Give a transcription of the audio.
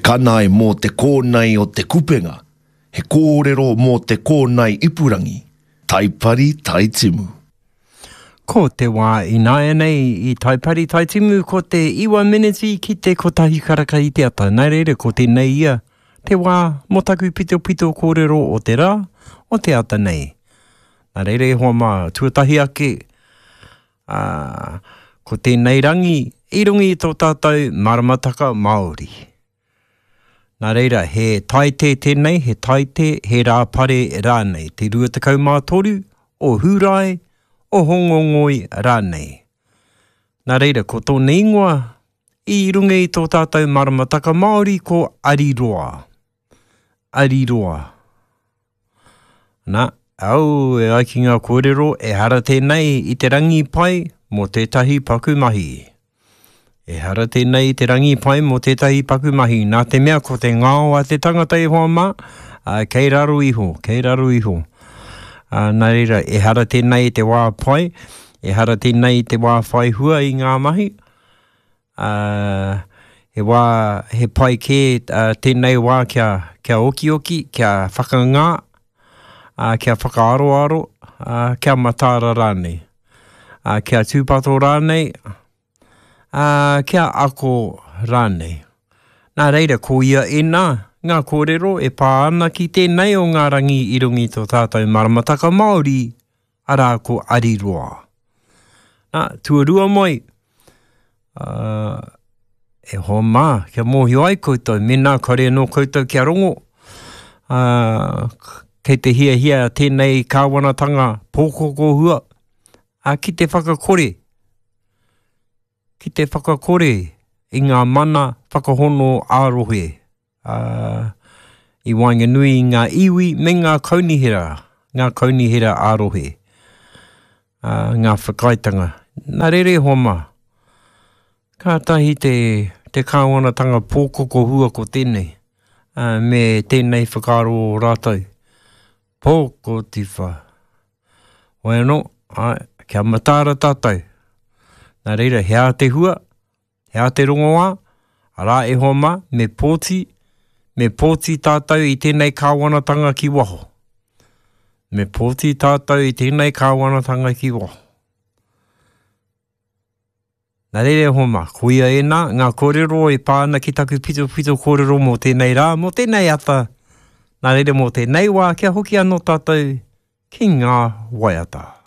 kanae mō te kōnae o te kupenga, he kōrero mō te kōnae ipurangi, Taipari Taitimu. Ko te wā ināianei i Taipari Taitimu ko te iwa meneti ki te kotahi karaka i te ata. Nā reira ko tēnei ia te wā mō taku pitopito kōrero o te rā, o te ata nei. Nā reira e hoa mā, tuatahi ake, ā, ko tēnei rangi i runga i tō tātou maramataka Māori. Nā reira, he Taite tēnei, he Taite, he Rāpare rānei, te 23 o Hūrae, o Hōngongoi rānei. Nā reira, ko tōna ingoa i runga i tō tātou maramataka Māori ko Ariroa. Ariroa. Nā, au, e ai ki ngā kōrero, ehara tēnei i te rangi pai mō tētahi paku mahi. Ehara tēnei i te rangi pai mō tētahi paku mahi, nā te mea ko te ngao a te tangata e hoa mā, ā, kei raro iho, kei raro iho. Ā, nā reira, ehara tēnei i te wā pai, ehara tēnei i te wā whai hua i ngā mahi, Ā, he wā, he pai kē tēnei wā kia, kia okioki, kia whakangā, ā, kia whakaaroaro, ā, kia mataara rānei. Ā, kia tūpato rānei, ā, kia ako rānei. Nā reira, ko ia ēnā ngā kōrero e pā ana ki tēnei o ngā rangi i runga i tō tātou maramataka Māori, arā ko Ariroa. Nā, tuarua mai, uh, e hoa mā, kia mōhio ai koutou, mēnā kare anō koutou kia rongo, uh, kei te hiahia tēnei kāwanatanga pōkokohua, uh, ki te whakakore, ki te whakakore i ngā mana whakahono ā-rohe, ā, i waenganui i ngā iwi me ngā kaunihera, ngā kaunihera ā-rohe, ā, ngā whakaaetanga. Nā reira e hoa mā, kātahi te, te kāwanatanga pōkokohua ko tēnei, ā, me tēnei whakaaro o rātou. Pōkotiwha. Hoi anō, āe, kia mataara tātou. Nā reira, he aha te hua? He aha te rongoā? Arā e hoa mā, me pōti, me pōti tātou i tēnei kāwanatanga ki waho. Me pōti tātou i tēnei kāwanatanga ki waho. Nā reira e hoa mā, koia ēnā ngā kōrero e pā ana ki taku pitopito kōrero mō tēnei rā, mō tēnei ata, nā reira mō tēnei wā kia hoki anō tātou ki ngā waiata.